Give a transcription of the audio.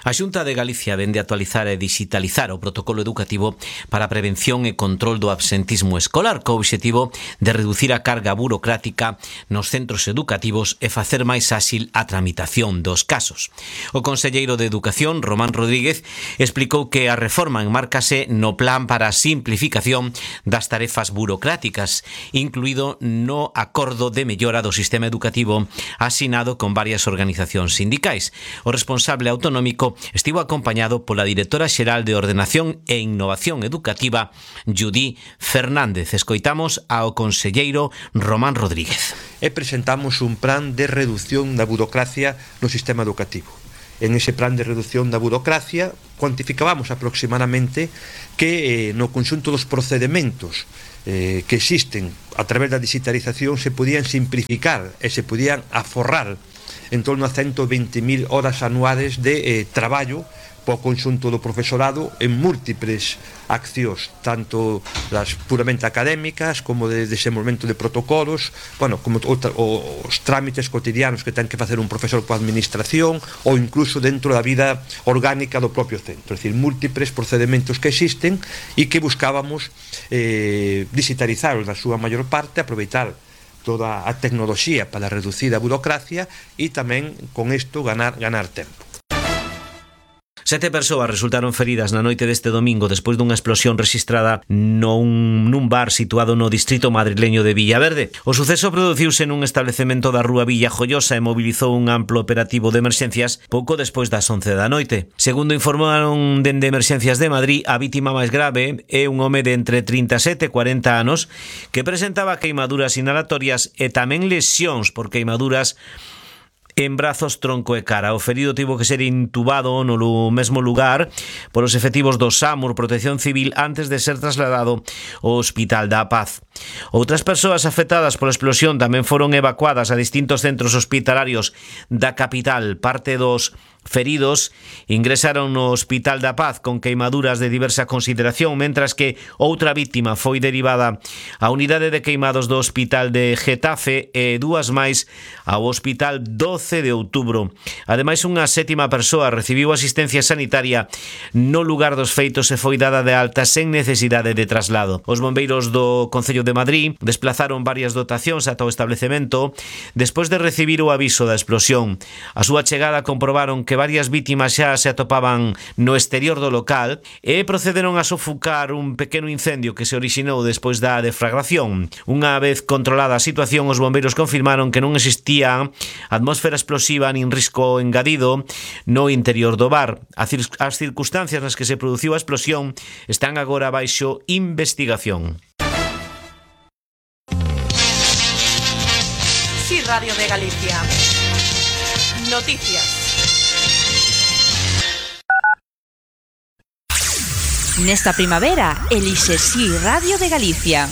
A Xunta de Galicia vende actualizar e digitalizar o protocolo educativo para a prevención e control do absentismo escolar, co obxectivo de reducir a carga burocrática nos centros educativos e facer máis áxil a tramitación dos casos. O conselleiro de Educación, Román Rodríguez, explicou que a reforma enmárcase no plan para a simplificación das tarefas burocráticas, incluído no acordo de mellora do sistema educativo asinado con varias organizacións sindicais. O responsable autonómico estivo acompañado pola directora xeral de Ordenación e Innovación Educativa, Judí Fernández. Escoitamos ao conselleiro Román Rodríguez. E presentamos un plan de reducción da burocracia no sistema educativo. En ese plan de reducción da burocracia cuantificábamos aproximadamente que no conxunto dos procedementos que existen a través da digitalización se podían simplificar e se podían aforrar en torno a 120.000 horas anuales de traballo po conxunto do profesorado en múltiples accións, tanto das puramente académicas como de desenvolvemento de protocolos, como os trámites cotidianos que ten que facer un profesor coa administración ou incluso dentro da vida orgánica do propio centro, é dicir, múltiples procedementos que existen e que buscábamos digitalizar na súa maior parte, aproveitar toda a tecnoloxía para reducir a burocracia e tamén con isto ganar tempo. 7 persoas resultaron feridas na noite deste domingo despois dunha explosión rexistrada nun bar situado no distrito madrileño de Villaverde. O suceso produciuse nun establecemento da rúa Villa Joiosa e mobilizou un amplo operativo de emerxencias pouco despois das 11 da noite. Segundo informaron dende Emerxencias de Madrid, a vítima máis grave é un home de entre 37 e 40 anos que presentaba queimaduras inhalatorias e tamén lesións por queimaduras en brazos, tronco e cara. O ferido tivo que ser intubado no mesmo lugar polos efectivos do SAMUR Protección Civil antes de ser trasladado ao Hospital da Paz. Outras persoas afectadas pola explosión tamén foron evacuadas a distintos centros hospitalarios da capital. Parte dos feridos ingresaron no Hospital da Paz con queimaduras de diversa consideración, mentras que outra vítima foi derivada á unidade de queimados do Hospital de Getafe e dúas máis ao Hospital 12 de Outubro. Ademais, unha sétima persoa recibiu asistencia sanitaria no lugar dos feitos e foi dada de alta sen necesidade de traslado. Os bombeiros do Concello de Madrid desplazaron varias dotacións ata o establecemento despois de recibir o aviso da explosión. A súa chegada comprobaron que varias vítimas xa se atopaban no exterior do local e procederon a sofocar un pequeno incendio que se orixinou despois da deflagración. Unha vez controlada a situación, os bombeiros confirmaron que non existía atmósfera explosiva nin risco engadido no interior do bar. As circunstancias nas que se produciu a explosión están agora baixo investigación. Sí, Radio de Galicia. Noticias. Nesta primavera, elixe Si Radio de Galicia.